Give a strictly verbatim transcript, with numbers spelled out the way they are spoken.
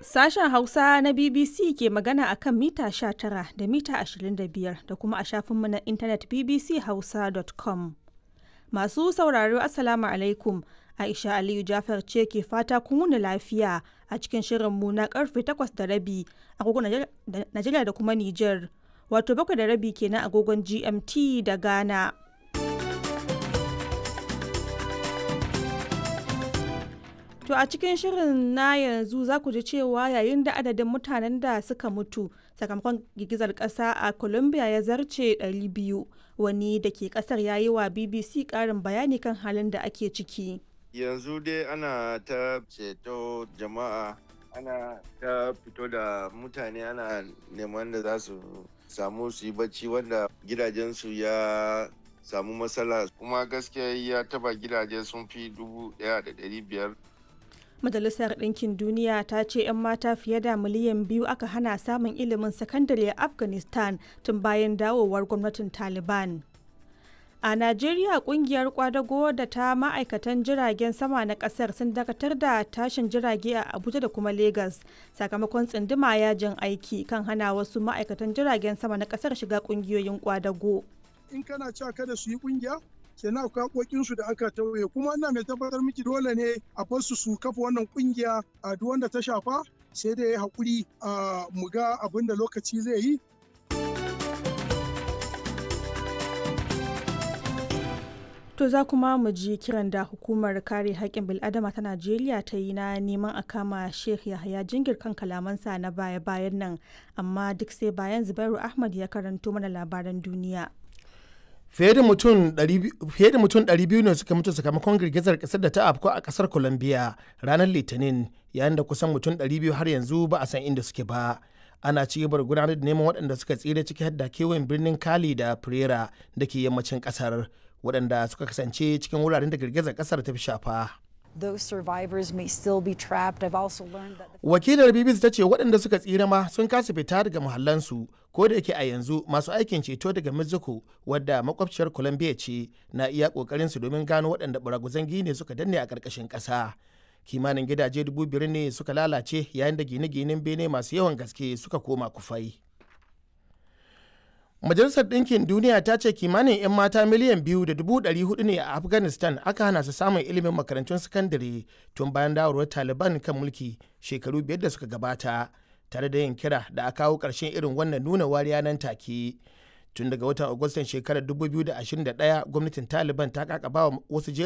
Sashen Hausa na B B C ke magana a kan mita sha tara da mita ashirin da biyar da kuma a shafinmu na intanet B B C hausa dot com. Masu sauraro, Assalamu alaikum. Aisha Aliyu Jafar ce ke fata kun wuni lafiya a cikin shirinmu na karfe takwas da rabi agogon Najeriya da kuma Nijar. Wato bakwai da rabi kenan agogon G M T da Ghana. To a cikin shirin na yanzu za ku ji cewa yayin da adadin mutanen da suka mutu sakamakon girgizar ƙasa a Colombia ya zarce ɗari biyu, wani da ke ƙasar ya yi wa B B C ƙarin bayani kan halin da ake ciki. Yanzu dai ana ta ceto jama'a, ana ta fito da mutane, ana neman da za su samu su yi bacci wanda gidajensu ya samu matsala, kuma gaskiya ya taba gidaje sun fi dubu ɗaya da ɗari biyar. Majalisar Ɗinkin Duniya ta ce 'yan mata fiye da miliyan biyu aka hana samun ilimin sakandare a Afghanistan tun bayan dawowar gwamnatin Taliban. A Najeriya, kungiyar kwadago da ta ma'aikatan jiragen sama na kasar sun dakatar da tashin jirage a Abuja da kuma Lagos sakamakon tsinduma yajin aiki kan hana wasu ma'aikatan jiragen sama na kasar shiga kungiyoyin kwadago. In kana cewa kada su yi kungiya, kenan akwai haƙoƙinsu da aka tauye, kuma ina mai tabbatar miki dole ne a bar su su kafa wannan kungiya. A duk wanda ta shafa sai dai haƙuri a mu ga abin da lokaci zai yi. To za kuma mu ji kiran da hukumar kare haƙƙin bil'adama ta Najeriya ta yi na neman a kama Sheikh Yahaya Jingir kan kalamansa na baya-bayan nan, amma duk sai bayan Zubairu Ahmad ya karanto mana labaran duniya. Fiye da mutum ɗari biyu ne suka mutu sakamakon girgizar kasar da ta afku a kasar Colombia ranar Litinin, yayin da kusan mutum ɗari biyu har yanzu ba a san inda suke ba. Ana ci gaba da gudanar da neman waɗanda suka tsira, ciki har da kewayen birnin Cali da Pereira da ke yammacin kasar, waɗanda suka kasance cikin wuraren da girgizar kasar ta fi shafa. Those survivors may still be trapped. I've also learned that the Wakilar B B C ta ce waɗanda suka tsira ma sun kasa fita daga muhallansu, ko da yake a yanzu masu aikin ceto daga Mexico, wadda makwabciyar Colombia ce, na iya ƙoƙarin su domin gano waɗanda baraguzan gine suka danne a ƙarƙashin ƙasa. Kimanin gidaje dubu biyar ne suka lalace, yayin da gine-ginen bene masu yawan gaske suka koma kufai. Majalisar Ɗinkin Duniya ta ce kimanin 'yan mata miliyan biyu da dubu ɗari hudu ne a Afghanistan aka hana su samun ilimin makarantun sakandare tun bayan dawowar Taliban kan mulki shekaru biyar da suka gabata, tare da yin kira da a kawo ƙarshen irin wannan nuna wariya nan take. Tun daga watan Agustan shekarar dubu biyu da ashirin da ɗaya gwamnatin Taliban ta kakaba wasu jerin